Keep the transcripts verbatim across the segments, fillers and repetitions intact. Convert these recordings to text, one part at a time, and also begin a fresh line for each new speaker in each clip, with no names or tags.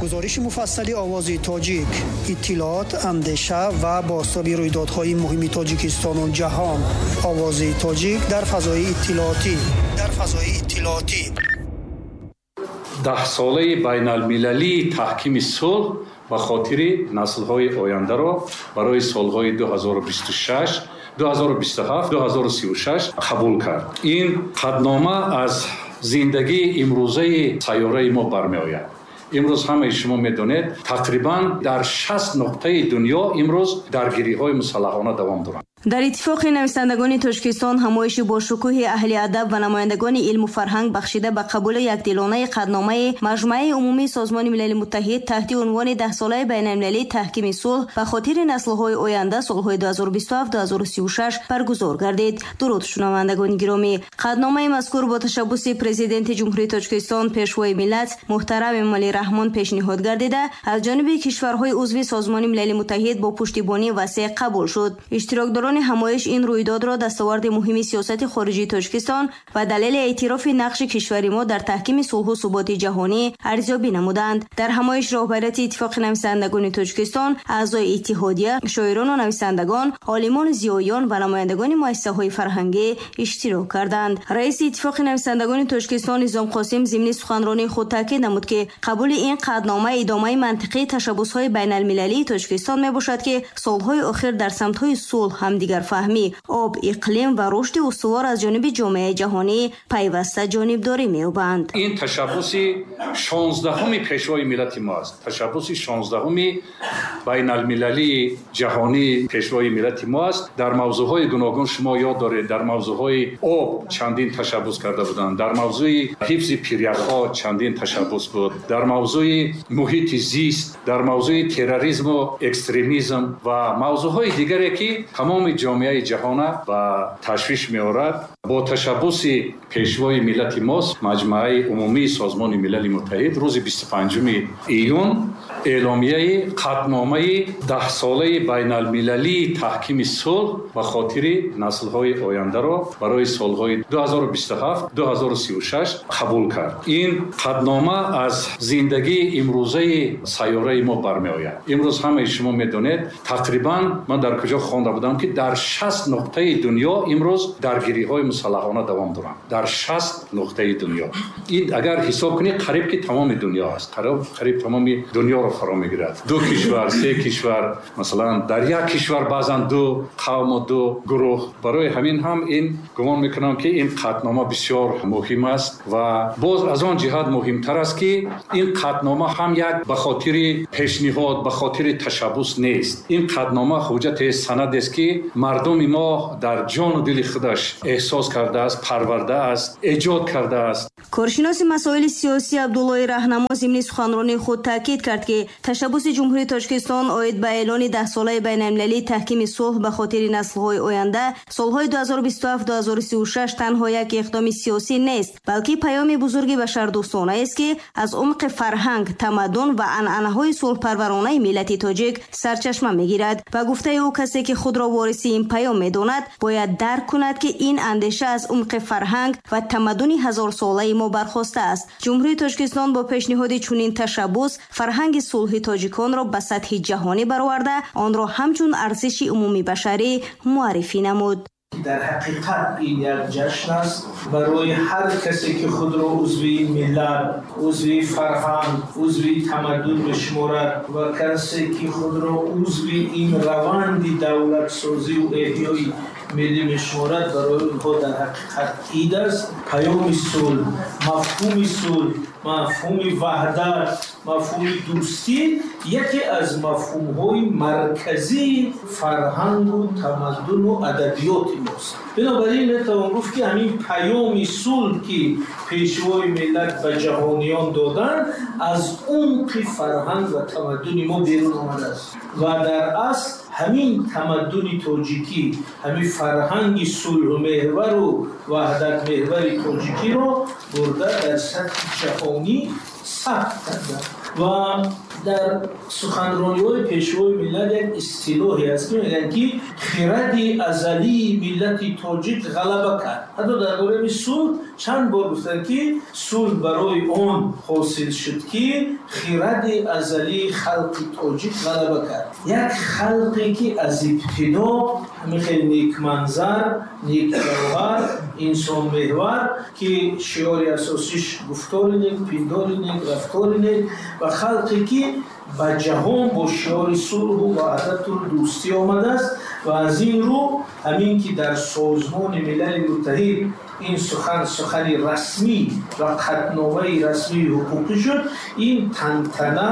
Гузориши муфассали Овози Тоҷик, иттилоот, андеша ва бозтоби рӯйдодҳои муҳими Тоҷикистону ҷаҳон. Овози Тоҷик дар фазои иттилоотӣ. Дар фазои иттилоотӣ.
Даҳсолаи байналмилалии таҳкими сулҳ ба хотири наслҳои ояндаро барои солҳои ду ҳазору бисту шаш, ду ҳазору бисту ҳафт, ду ҳазору сию шаш қабул кард. Ин қатънома аз зиндагии имрӯзаи сайёраи мо бармеояд. Имрӯз ҳамаи шумо медонед, тақрибан дар шаст нуқтаи дунё имрӯз даргириҳои мусаллаҳона давом доранд.
Дар Иттифоқи нависандагони Тоҷикистон ҳамоиши бошукӯҳи аҳли адаб ва намояндагони илму фарҳанг бахшида ба қабули якдилонаи қатъномаи Маҷмааи умумии Созмони Милали Муттаҳид таҳти унвони даҳсолаи байналмилалии таҳкими сулҳ ба хотири наслҳои оянда солҳои ду ҳазору бисту ҳафт, ду ҳазору сию шаш баргузор гардид. Дуруд, шунавандагони гиромӣ. Қатъномаи мазкур бо ташаббуси Президенти Ҷумҳурии Тоҷикистон, Пешвои миллат муҳтарам Эмомалӣ Раҳмон пешниҳод гардида, аз ҷониби кишварҳои узви Созмони Милали Муттаҳид бо пуштибонии васеъ қабул шуд. Иштирокдорон ҳамоиш ин рӯйдодро дастоварди муҳими сиёсати хориҷии Тоҷикистон ва далели эътирофи нақши кишвари мо дар таҳкими сулҳу суботи ҷаҳонӣ арзёбӣ намуданд. Дар ҳамоиш роҳбарияти Иттифоқи нависандагони Тоҷикистон, аъзои иттиҳодия, шоирону нависандагон, олимону зиёиён ва намояндагони муассисаҳои фарҳангӣ иштирок карданд. Раиси Иттифоқи нависандагони Тоҷикистон Низом Қосим зимни суханронии худ таъкид намуд, ки қабули ин қатънома идомаи мантиқии ташаббусҳои байналмилалии Тоҷикистон мебошад, ки солҳои охир дар самтҳои сулҳ, ҳамдигарфаҳмӣ, об, иқлим ва рушди устувор аз ҷониби ҷомеаи ҷаҳонӣ пайваста ҷонибдорӣ меёбанд.
Ин ташаббуси шонздаҳуми Пешвои миллати мо аст. Ташаббуси шонздаҳуми байналмилалии ҷаҳонии Пешвои миллати мо аст. Дар мавзӯъҳои гуногун шумо ёд доред, дар мавзӯъҳои об чандин ташаббус карда буданд, дар мавзӯи ҳифзи пиряхҳо чандин ташаббус буд, дар мавзӯи муҳити зист, дар мавзӯи терроризму экстремизм ва мавзӯъҳои дигаре, ки тамоми ҷомеаи ҷаҳона ба ташвиш меорад. Бо ташаббуси Пешвои миллати мост Маҷмааи умумии Созмони Милали Муттаҳид рӯзи бисту панҷуми июн эъломияи қатъномаи даҳсолаи байналмилалии таҳкими сулҳ ба хотири наслҳои ояндаро барои солҳои ду ҳазору бисту ҳафт, ду ҳазору сию шаш қабул кард. Ин қатънома аз зиндагии имрӯзаи сайёраи мо бармеояд. Имрӯз ҳамаи шумо медонед, тақрибан ман дар куҷо хонда будам, ки дар шаст нуқтаи дунё имрӯз даргириҳои мусаллаҳона давом доранд. Дар шаст нуқтаи дунё. Ин агар ҳисоб кунед, қариб ки тамоми дунё аст. Қариб тамоми дунёро фаро мегирад. Ду кишвар, се кишвар, масалан дар як кишвар баъзан ду қавму ду гурӯҳ. Барои ҳамин ҳам ин гумон мекунам, ки ин қатънома бисёр муҳим аст ва боз аз он ҷиҳат муҳимтар аст, ки ин қатънома ҳам як ба хотири пешниҳод, ба хотири ташаббус нест. Ин қатънома ҳуҷҷате, санадест, ки мардуми мо дар ҷону дили худаш эҳсос кардааст, парвардааст, эҷод кардааст.
Коршиноси масоили сиёсӣ Абдуллои Раҳнамо зимни суханронии худ таъкид кард, ки ташаббуси Ҷумҳурии Тоҷикистон оид ба эълони даҳсолаи байналмилалии таҳкими сулҳ ба хотири наслҳои оянда солҳои ду ҳазору бисту ҳафт, ду ҳазору сию шаш танҳо як иқдоми сиёсӣ нест, балки паёми бузурги башардӯстонаест, ки аз умқи фарҳанг, тамаддун ва анъанаҳои сулҳпарваронаи миллати тоҷик сарчашма мегирад. Ба гуфтаи ӯ, касе ки худро вориси ин паём медонад, бояд дарк кунад, ки ин андеша аз умқи фарҳанг ва тамаддуни ҳазорсолаи мо бархостааст. Ҷумҳурии Тоҷикистон бо пешниҳоди чунин ташаббус фарҳанги сулҳи тоҷиконро ба сатҳи ҷаҳонӣ бароварда, онро ҳамчун арзиши умумибашарӣ муаррифӣ намуд.
Дар ҳақиқат ин як ҷашн аст барои ҳар касе, ки худро узви миллат, узви фарҳанг, узви тамаддун мешуморад ва касе, ки худро узви ин раванди давлатсозӣ ва эҳёи миллӣ мешуморад, барои онҳо дар ҳақиқат ид аст. Паёми сулҳ, мафҳуми сулҳ, мафҳуми ваҳдат, мафҳуми дӯстӣ яке аз мафҳумҳои марказии фарҳангу тамаддуну адабиёти мост. Бинобар ин метавон гуфт, ки ҳамин паёми сулҳ, ки Пешвои миллат ба ҷаҳониён доданд, аз умқи фарҳанг ва тамаддуни мо берун омадааст ва дар асл ҳамин тамаддуни тоҷикӣ, ҳамин фарҳанги сулҳмеҳвару ваҳдатмеҳвари тоҷикиро бурда дар сатҳи ҷаҳонӣ сабт карданд. Ва дар суханрониҳои пешвои миллат як истилоҳе аст, ки мегӯянд, ки хиради азалии миллати тоҷик ғалаба кард. Ҳатто дар бораи сулҳ чанд бор гуфтанд, ки сулҳ барои он ҳосил шуд, ки хиради азалии халқи тоҷик ғалаба кард. Як халқе ки аз ибтидо ҳамин хел некманзар, некҷавҳар, инсонмеҳвар, ки шиори асосиш гуфтори нек, пиндори нек, рафтори нек, ва халқе ки ба ҷаҳон бо шиори сулҳу ваҳдату дӯстӣ омадааст. Ва аз ин рӯ ҳамин ки дар Созмони Милали Муттаҳид ин сухан сухани расмӣ ва қатъномаи расмии ҳуқуқӣ шуд, ин тантана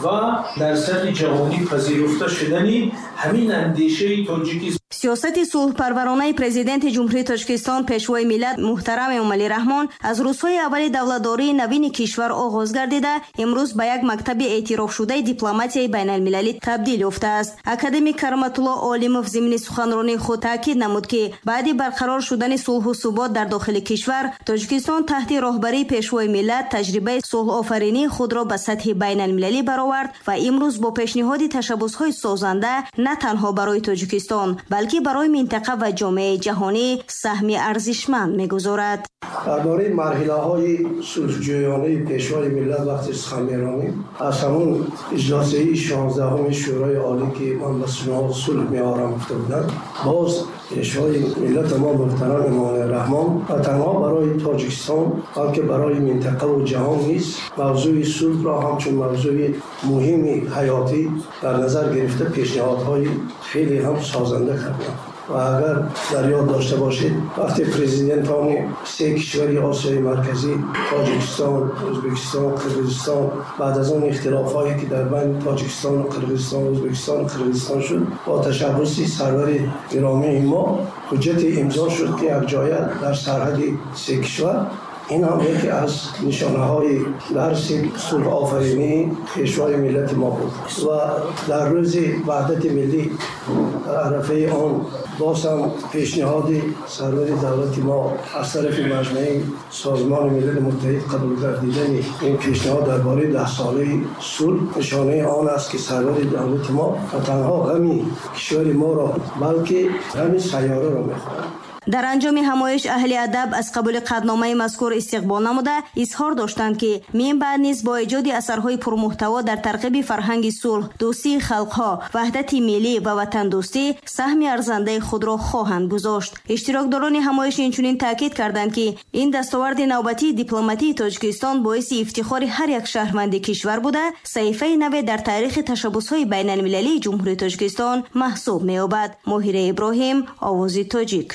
ва дар сатҳи ҷаҳонӣ пазируфта шудани ҳамин андешаи тоҷикӣ.
Сиёсати сулҳпарваронаи Президенти Ҷумҳурии Тоҷикистон, Пешвои миллат муҳтарам Эмомалӣ Раҳмон аз рӯзҳои аввали давлатдории навини кишвар оғоз гардида, имрӯз ба як мактаби эътирофшудаи дипломатияи байналмилалӣ табдил ёфтааст. Академик Кароматулло Олимов зимни суханронии худ таъкид намуд, ки баъди барқарор шудани сулҳу субот дар дохили кишвар, Тоҷикистон таҳти роҳбарии Пешвои миллат таҷрибаи сулҳофаринии худро ба сатҳи байналмилалӣ баровард ва имрӯз бо пешниҳоди ташаббусҳои созанда на танҳо барои Тоҷикистон, балки барои минтақа ва ҷомеаи ҷаҳонӣ саҳми арзишманд мегузорад.
Дар бораи марҳилаҳои сулҳҷӯёнаи Пешвои миллат вақте сухан меронем, аз ҳамон иҷлосияи шонздаҳуми Шӯрои Олӣ, ки ман ба сулҳ меорам гуфта буданд, боз Пешвои миллати мо муҳтарам Эмомалӣ Раҳмон на танҳо барои Тоҷикистон, балки барои минтақаву ҷаҳон низ мавзӯи сулҳро ҳамчун мавзӯи муҳими ҳаётӣ дар назар гирифта пешниҳодҳои хеле ҳам созанда карданд. Ва агар дар ёд дошта бошед, вақте президентони се кишвари Осиёи Марказӣ, Тоҷикистон, Ӯзбекистон, Қирғизистон, баъд аз он ихтилофҳое ки дар байни Тоҷикистону Қирғизистон, Ӯзбекистону Қирғизистон шуд, бо ташаббуси сарвари гиромии мо ҳуҷҷате имзо шуд, ки якҷоя дар сарҳади се кишвар. Ин ҳам яке аз нишонаҳои дарси сулҳофаринии Пешвои миллати мо буд. Ва дар рӯзи ваҳдати миллӣ, дар арафаи он, боз ҳам пешниҳоди сарвари давлати мо аз тарафи Маҷмаи Созмони Милали Муттаҳид қабул гардидани ин пешниҳод дар бораи даҳсолаи сулҳ нишонаи он аст, ки сарвари давлати мо на танҳо ғами кишвари моро, балки ғами сайёраро мехӯрад.
Дар анҷоми ҳамоиш аҳли адаб аз қабули қатъномаи мазкур истиқбол намуда изҳор доштанд, ки минбаъд низ бо эҷоди асарҳои пурмуҳтаво дар тарғиби фарҳанги сулҳ, дӯстии халқҳо, ваҳдати миллӣ ва ватандӯстӣ саҳми арзандаи худро хоҳанд гузошт. Иштирокдорони ҳамоиш инчунин таъкид карданд, ки ин дастоварди навбатии дипломатии Тоҷикистон боиси ифтихори ҳар як шаҳрванди кишвар буда, саҳифаи наве дар таърихи ташаббусҳои байналмилалии Ҷумҳурии Тоҷикистон маҳсуб меёбад. Моҳира Иброҳим, Овози Тоҷик.